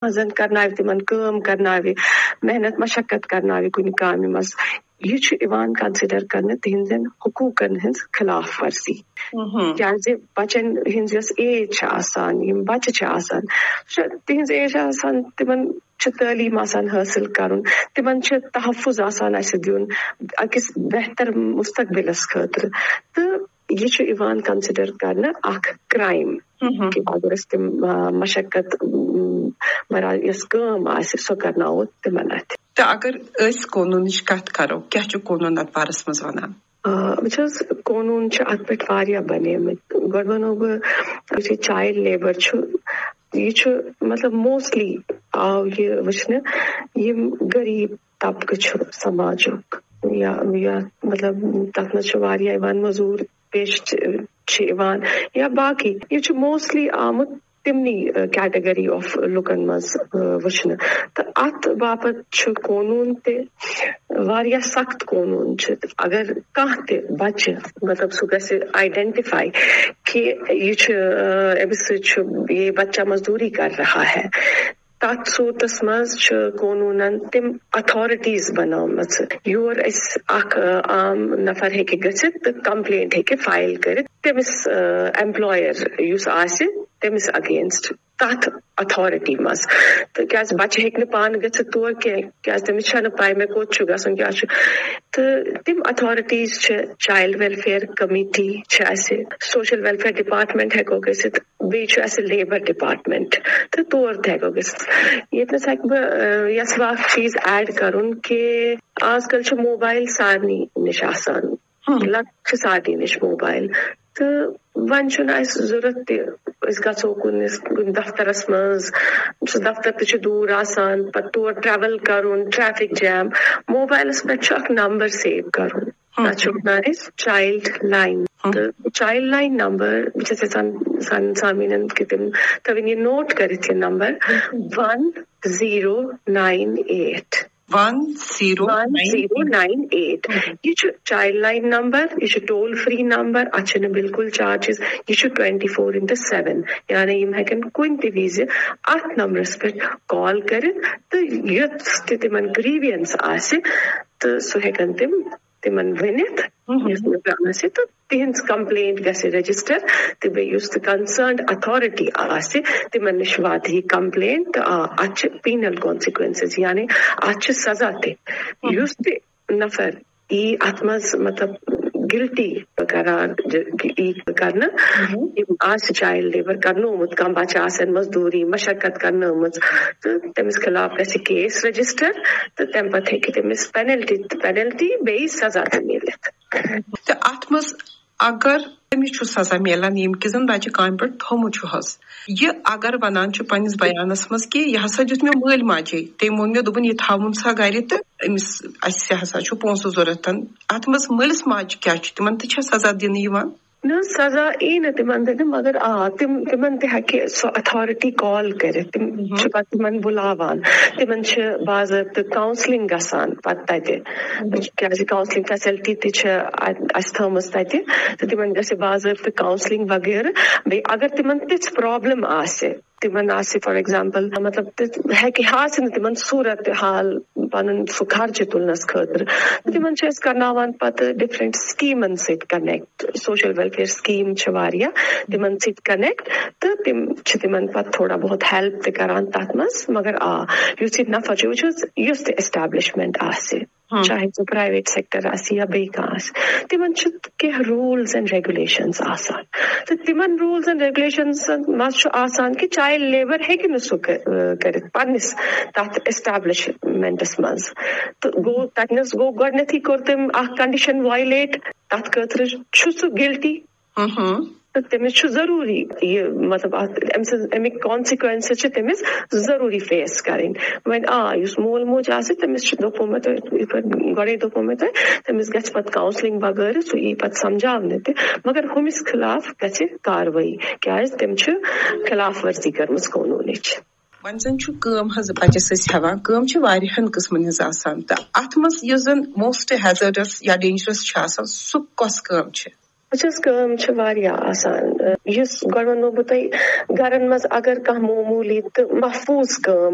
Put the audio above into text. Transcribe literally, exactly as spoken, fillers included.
منٛز کرناوِ تِمن کٲم کرناوِ، محنت مشقت کرناوِ کُنہِ کامہِ منٛز، یہِ چھُ یِوان کنسیڈر کرنہٕ تِہنٛدٮ۪ن حقوٗقن ہٕنٛز خلاف ورزی۔ کیازِ بچن ہٕنٛز یۄس ایج چھِ آسان، یِم بچہِ چھِ آسان، سۄ چھِ، تِہنٛز ایج چھِ آسان، تِمن چھِ تعلیٖم آسان حٲصِل کرُن، تِمن چھِ تحفظ آسان اَسہِ دیُن أکِس بہتر مستقبلس خٲطرٕ۔ تہٕ یہِ چھُ یِوان کنسیڈر کرنہٕ اکھ کرائم۔ کہِ اگر أسۍ تِم، آ، مشقت، م، مرا-، یۄس کٲم آسہِ، سۄ کرناوو تِمن اَتھِ۔ تہٕ اگر أسۍ قونوٗنٕچ کتھ کرو، کیٛاہ چھُ قونوٗن اتھ بارس منٛز ونان؟ آ، وٕچھ حظ، قونوٗن چھِ اتھ پٮ۪ٹھ واریاہ بنیمٕتۍ۔ گۄڈٕ ونو بہٕ، یُس یہِ چایلڈ لیبر چھُ، یہِ چھُ، مطلب، موسٹلی آو یہِ وٕچھنہٕ، یِم غریٖب طبقہٕ چھُ سماجُک، یا، یا، مطلب، تتھ منٛز چھِ واریاہ یِوان مٔزوٗر پیش چھِ، چھِ یِوان، یا باقٕے۔ یہِ چھُ موسٹلی آمُت تِمنٕے، ٲ، کیٹیگری آف لُکن منٛز، ٲ، وٕچھنہٕ۔ تہٕ اتھ باپتھ چھُ قونوٗن تہِ واریاہ سخت قونوٗن چھِ۔ اگر کانٛہہ تہِ بچہِ، مطلب، سُہ گژھِ آئیڈینٹیفائی کہِ یہِ چھُ، ٲ، أمِس سۭتۍ چھُ، یہ بچہ مزدوری کر رہا ہے، تتھ صورتس منٛز چھِ قونوٗنن تِم اتھارٹیز بنٲومٕژ، یور أسۍ اکھ، ٲ، عام نفر ہیٚکہِ گٔژھِتھ تہٕ کمپلینٹ ہیٚکہِ فائل کٔرِتھ تٔمِس، ٲ، ایمپلایَر یُس آسہِ، تٔمِس اگینسٹ تتھ اتھارٹی منٛز۔ تہٕ کیازِ بچہِ ہیٚکہِ نہٕ پانہٕ گٔژھِتھ تور کینٛہہ، کیازِ تٔمِس چھَنہٕ پاے مےٚ کوٚت چھُ گژھُن، کیٛاہ چھُ۔ تہٕ تِم اتھارٹیز چھِ، چایلڈ ویلفیئر کمیٹی چھِ اَسہِ، سوشل ویلفیئر ڈپارٹمنٹ ہیٚکو گٔژھِتھ، بیٚیہِ چھُ اَسہِ لیبر ڈپارٹمنٹ، تہٕ تور تہِ ہیٚکو گٔژھِتھ۔ ییٚتہِ نَس ہیٚکہٕ بہٕ، ٲ، یَژھ بہٕ اکھ چیٖز ایڈ کرُن کہِ آز کل چھُ موبایل سارنٕے نِش آسان، لگ چھِ سارنٕے نِش موبایل، تہٕ وۄنۍ چھُنہٕ اَسہِ ضروٗرت تہِ أسۍ گژھو کُنِس، کُنہِ دفترس منٛز، سُہ دفتر تہِ چھُ دوٗر آسان، پتہٕ تور ٹریول کرُن، ٹریفک جام۔ موبایلس پٮ۪ٹھ چھُ اکھ نمبر سیو کرُن، تتھ چھِ ونان أسۍ چایلڈ لائن۔ تہٕ چایلڈ لائن نمبر، بہٕ چھَس یژھان سانٮ۪ن سامعیٖنن کہِ تِم تھٲوِن یہِ نوٹ کٔرِتھ، یہِ نمبر، ون زیٖرو ناین ایٹ۔ ون زیٖرو ناین ایٹ۔ ون زیٖرو ناین ایٹ۔ یہِ چھُ چایلڈ لائن نمبر، یہِ چھُ ٹول فری نمبر، اتھ چھِنہٕ بالکل چارجز، یہِ چھُ ٹوینٹی فور انٹو سیون، یعنی یِم ہیٚکن کُنہِ تہِ وِزِ اتھ نمبرس پٮ۪ٹھ کال کٔرِتھ تہٕ یۄس تہِ تِمن گریونس آسہِ تہٕ سُہ ہیٚکن تِم تِمن ؤنِتھ، یُس نہٕ آسہِ، تہٕ تِہنٛز کمپلینٹ گژھِ رجسٹر، تہٕ بیٚیہِ یُس تہِ کنسرنڈ اتھارٹی آسہِ، تِمن نِش واتہِ یہِ کمپلینٹ، تہٕ آ، اتھ چھِ پینل کانسیکوینسز، یعنی اتھ چھِ سزا تہِ۔ یُس تہِ نفر یی اتھ منٛز، مطلب، گلٹی قرار د-، یی کرنہٕ، یِم آسہِ چایلڈ لیبر کرنومُت، کانٛہہ بچہٕ آسن مزدوٗری، مشقت کرنٲومٕژ، تہٕ تٔمِس خلاف گژھِ کیس رجسٹر، تہٕ تمہِ پتہٕ ہیٚکہِ تٔمِس پینلٹی، پینلٹی بیٚیہِ سزا تہِ میٖلِتھ۔ تہٕ اتھ منٛز اگر تٔمِس چھُ سزا میلان، ییٚمہِ کہِ زن بچہِ کامہِ پٮ۪ٹھ تھوٚومُت چھُ حظ، یہِ اگر ونان چھُ پننِس بیانس منٛز کہِ یہِ ہسا دیُت مےٚ مٲلۍ ماجے، تٔمۍ ووٚن مےٚ، دوٚپُن، یہِ تھاوُن سا گرِ تہٕ أمِس، اسہِ ہسا چھُ پونٛسہٕ ضروٗرت۔ اتھ منٛز مٲلِس ماجہِ کیٛاہ چھُ، تِمن تہِ چھا سزا دِنہٕ یِوان؟ نہ، سزا یی نہٕ تِمن دِنہٕ، مگر آ، تِم، تِمن تہِ ہیٚکہِ سۄ اتھارٹی کال کٔرِتھ۔ تِم چھِ پتہٕ تِمن بُلاوان۔ تِمن چھِ باضٲبطہٕ کاونسلنگ گژھان پتہٕ تتہِ۔ کیازِ کاونسلنگ فیسلٹی تہِ چھِ ا-، اسہِ تھٲومٕژ تتہِ۔ تہٕ تِمن گژھِ باضٲبطہٕ کاونسلنگ وغیرہ۔ بیٚیہِ اگر تِمن تِژھ پرابلم آسہِ، تِمن آسہِ، فار ایگزامپل، مطلب، تہِ ہیٚکہِ ہا آسہِ نہٕ تِمن صورت حال پنُن سُہ خرچہٕ تُلنس خٲطرٕ۔ تِمن چھِ أسۍ کرناوان پتہٕ ڈفرنٹ سکیمن سۭتۍ کنیکٹ۔ سوشل ویلفیئر سکیٖم چھِ واریاہ، تِمن سۭتۍ کنیکٹ، تہٕ تِم چھِ تِمن پتہٕ تھوڑا بہت ہیلپ تہِ کران تتھ منٛز۔ مگر آ، یُس یہِ نفر چھُ، وٕچھ حظ، یُس تہِ ایسٹیبلشمنٹ آسہِ، چاہے سُہ پرایویٹ سیکٹر آسہِ یا بیٚیہِ کانٛہہ آسہِ، تِمن چھِ کینٛہہ روٗلز اینڈ ریگولیشنز آسان۔ تہٕ تِمن روٗلز اینڈ ریگولیشنزن منٛز چھُ آسان کہِ چایلڈ لیبر ہیٚکہِ نہٕ سُہ کٔ-، کٔرِتھ پننِس تتھ ایسٹیبلشمنٹس منٛز۔ تہٕ گوٚو، تتہِ نس گوٚو گۄڈٕنیتھٕے کوٚر تٔمۍ اکھ کنڈیشن وایلیٹ، تتھ خٲطرٕ چھُ سُہ گلٹی۔ تہٕ تٔمِس چھُ ضروٗری یہِ، مطلب، اتھ، أمۍ سٕنٛز، اَمِکۍ کانسیکوینسز چھِ تٔمِس ضروٗری فیس کرٕنۍ۔ وۄنۍ آ، یُس مول موج آسہِ، تٔمِس چھُ، دوٚپمو مےٚ تۄہہِ، یِتھ پٲٹھۍ گۄڈے دوٚپمو مےٚ تۄہہِ، تٔمِس گژھِ پتہٕ کاونسلنگ وغٲرٕ، سُہ یی پتہٕ سمجھاونہٕ تہِ، مگر ہُمِس خلاف گژھِ کاروٲیی، کیازِ تٔمۍ چھِ خلاف ورزی کٔرمٕژ قونوٗنٕچ۔ وۄنۍ زن چھُ کٲم حظ بچس أسۍ ہٮ۪وان، کٲم چھِ واریاہن قٕسمن ہٕنٛز آسان، تہٕ اتھ منٛز یُس زن موسٹ ہیزرڈس یا ڈینجرس چھُ آسان، سُہ کۄس کٲم چھِ؟ وٕچھ حظ، کٲم چھِ واریاہ آسان۔ یُس گۄڈٕ وَنو بہٕ تۄہہِ، گرن منٛز اگر کانٛہہ معموٗلی تہٕ محفوٗظ کٲم